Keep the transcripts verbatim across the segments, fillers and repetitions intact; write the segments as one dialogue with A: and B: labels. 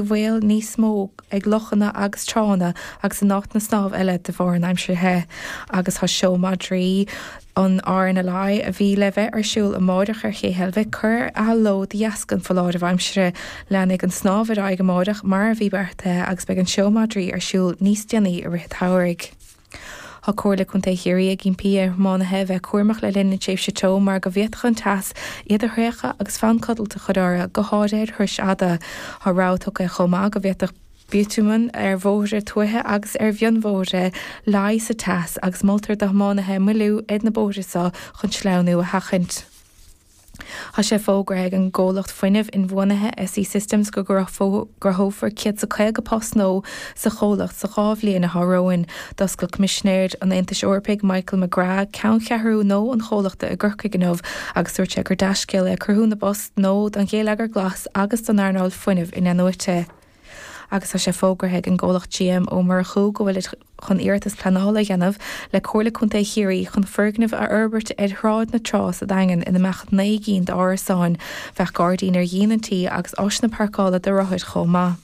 A: bhaol níos mó ag lochanna agus tránna agus in áiteanna snámha eile de bharr an aimsir the. Agus tá seó madraí an R N L I a bhí le bheith ar siúl amárach ar Ché Heilbhic curtha de ló de dheasca an foláireamh aimsire. Leanfaidh an snámh ar aghaidh amárach mar a bhí beartaithe agus beidh an seó madraí ar siúl níos déanaí i rith an tsamhraidh. Tá Comhairle Contae Chiarraí ag impí ar thiománaithe bheith cúramach le linn na tréimhse teo mar go bhféadfadh an teas iad a thraochadh agus fonn codlata a chur orthu, go háirithe ar thurais fhada. Tá rabhadh tugtha chomh maith go bhféadfadh biotúman ar bhóithre tuaithe agus ar mhionbhóithre leá sa teas agus moltar do thiománaithe moilliú ar na bóithre seo chun sleamhnú a sheachaint. Tá sé fógartha ag an gcomhlacht fuinnimh inbhuanaithe S E Systems go gcruthófar céad is caoga post nua sa chomhlacht sa dhá bhliain atá romhainn. D'oscail Coimisinéir an Aontais Eorpaigh Michael McGrath ceanncheathrú nua an chomhlachta i gCorcaigh inniu agus dúirt sé gur dea-scéal é cruthú na bpost nua don gheilleagar glas agus don earnáil fuinnimh inathnuaite. Agus tá sé fógartha ag an gcomhlacht G M Ó Murchú go bhfuil chun iarratas pleanála a dhéanamh le Comhairle Contae Chiarraí chun foirgneamh a fhorbairt ar Shráid na Trá sa Daingean ina mbeadh naoi gcinn d'árasáin. Bheadh gairdín ar dhíon an tí agus áiseanna páirceála do rothair chomh maith.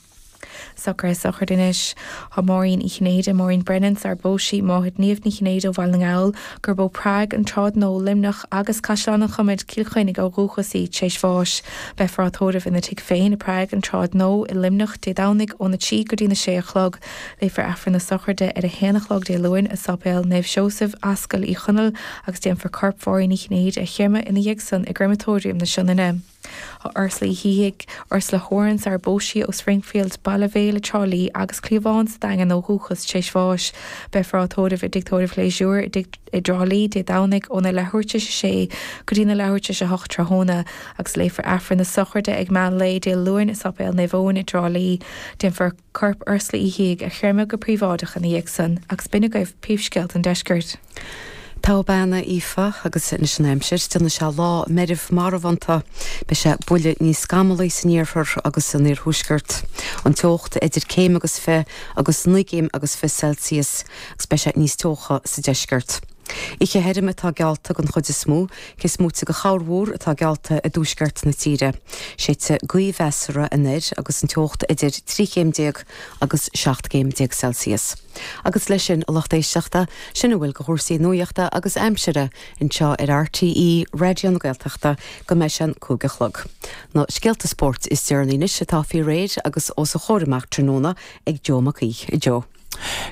A: Socruithe sochraide anois. Tá Máirín Uí Chinnéide, Maureen Brennan, sar phós sí, máthair Niamh Ní Chinnéide ó Bhaile na nGall, gurb ó Prague, an tSráid Nua, Luimneach agus Caisleán an Chomaid, Cill Chainnigh ó dhúchas í tar éis bháis. Beifear á tórramh ina tigh féin i Prague, an tSráid Nua i Luimneach Dé Domhnaigh óna trí go dtí na sé a chlog. Léifear Aifreann na sochraide ar a haon a chlog Dé Luain i Séipéal Naomh Seosamh, Ascaill Uí Chonaill agus déanfar corp Mháirín Uí Chinnéide a chreimeadh ina dhiaidh san i gcreimeatóiriam na Sionainne. Tá Ursula Uí Shíthigh, Ursula Horan sar phós sí ó Springfield, Baile Bhéal i dTrá Lí agus Cliabhán sa Daingean ó dhúchas tar éis bháis. Beifear á tórramh i dtigh tórraimh Phléisiúir i dTrá Lí Dé Domhnaigh óna leathuair tar éis a sé go dtí na leathuair tar éis a hocht tráthnóna agus léifear Aifreann na sochraide ag meán lae Dé Luain i Séipéal Naomh Eoin i dTrá Lí. Déanfar corp Ursula Uí Shíthigh a chreimeadh go príobháideach ina dhiaidh san agus b'in agaibh príomhscéalta an deiscirt.
B: Tá bean Aoife agus anois an aimsir, déanfaidh sé lá meirbh marbhánta, Beidh sé buille níos scamallaí san iarthar agus san iarthuaisceart. An teocht idir céim agus fiche agus naoi gcéim agus fiche Celsius agus beidh sé níos teocha sa deisceart. Oíche thirim atá geallta den chuid is mó, cé is móite de chorrmhúr atá geallta i dtuaisceart na tíre. Séidfidh gaoth mheasartha anoir agus an teocht idir trí chéim déag agus seacht gcéim déag Celsius. Agus leis sin a lucht éisteachta sin a bhfuil de chúrsaí nuachta agus aimsire anseo ar R T E Raidió na Gaeltachta go mbeidh sé an cúig a chlog. Na scéalta spóirt is deireanaí anois atá faoi réir agus os a chomhair amach tráthnóna ag Joe Mac Aoidh. Joe.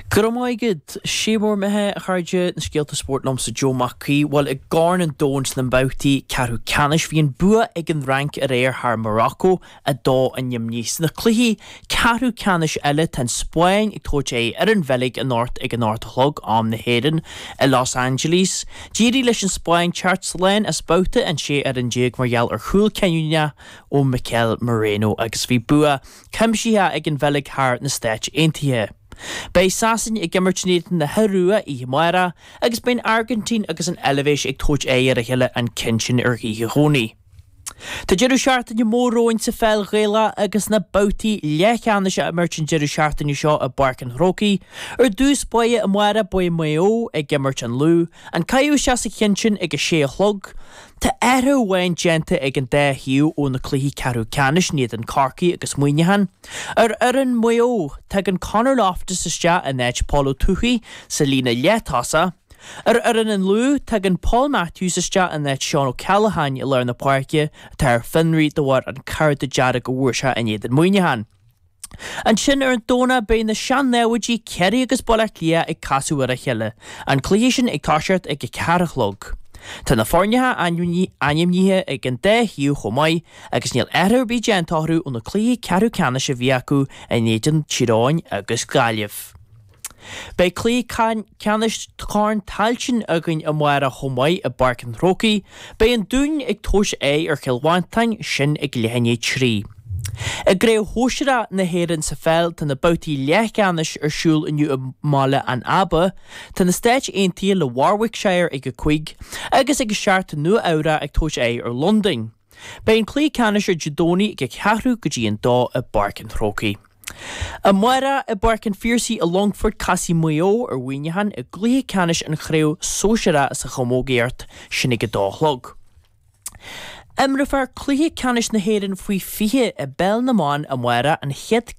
C: Go maigad sé mór mithe chuide na scéalta spóirt liomsa Joe Mac Aoidh, bhuel i gCorn an Domhain sna babhtaí ceathrú ceannais bhí an bua ag an Fhrainc aréir thar Morocco a dó a nimní. Sna cluichí ceathrú ceannais eile tá an Spáinn ag tabhairt aghaidh ar an Bheilg anocht ag an ocht a chlog am na hÉireann i Los Angeles. D'éirigh leis an Spáinn teacht slán as babhta an sé fhoireann déag mar gheall ar chúl cinniúnach ó Mikel Merino agus bhí bua cuimsitheach ag an Bheilg thar na Stáit Aontaithe. Beidh Sasain ag imirt in éadan na hIorua oíche amárach agus beidh an Airgintín agus an Eilvéis ag tabhairt aghaidh ar a chéile an ceann sin ar Oíche Dhomhnaigh. Tá deireadh seachtaine mór romhainn sa pheil Ghaelach agus na babhtaí leathcheannais á imirt an deireadh seachtaine seo i bPáirc an Chrócaigh. Ar dtús báire amárach beidh Maigh Eo ag imirt an Lú, an caitheamh isteach sa cheann sin ag a sé a chlog. Tá athrú amháin déanta ag an dá thaobh ó na cluichí ceathrú ceannais in éadan Corcaigh agus Muineachán. Ar fhoireann Mhaigh Eo, tagann Conor Loftus isteach in áit Paul Ó Tuathaigh sa líne leath-tosach. Ar fhoireann an Lú, tagann Paul Matthews isteach in áit Seán O'Callaghan i lár na páirce atá ar fionraí de bharr an cárta dearg a bhfuair sé in éadan Muineachán. Ansin ar an Domhnach beidh na sean-namhaidí Ciarraí agus Baile Átha Cliath ag casadh ar a chéile, an cluiche sin ag toiseacht ag a ceathair a chlog. Tá na foirne ainmnithe ag an dá thaobh chomh maith agus níl athrú ar bith déanta orthu ó na cluichí ceathrú ceannais a bhí acu in éadan Tír Eoghain agus Gaillimh. Beidh cluiche ceannais Chorn Tailteann againn amárach chomh maith i bPáirc an Chrócaigh, beidh an Dún ag tabhairt aghaidh ar Chill Mhantáin sin ag leath i ndiaidh a trí. I gCraobh Shóisearach na hÉireann sa pheil tá na babhtaí leathcheannais ar siúl inniu i mBaile an Aba, tá na Stáit Aontaithe le Warwickshire ag a cúig agus ag a seacht Nua Eabhrac ag tabhairt aghaidh ar Londain. Beidh an cluiche ceannais ar Dé Domhnaigh ag a ceathrú go dtí an dó i bPáirc an Chrócaigh. Amárach i bPáirc an Phiarsaigh i Longfort casfaidh Maigh Eo ar Mhuineachán i gcluiche ceannais an chraobh sóisearach sa chamógaíocht sin ag a dó a chlog. Imreofar cluiche ceannais na hÉireann faoi fiche i bpeil na mban amárach an chéad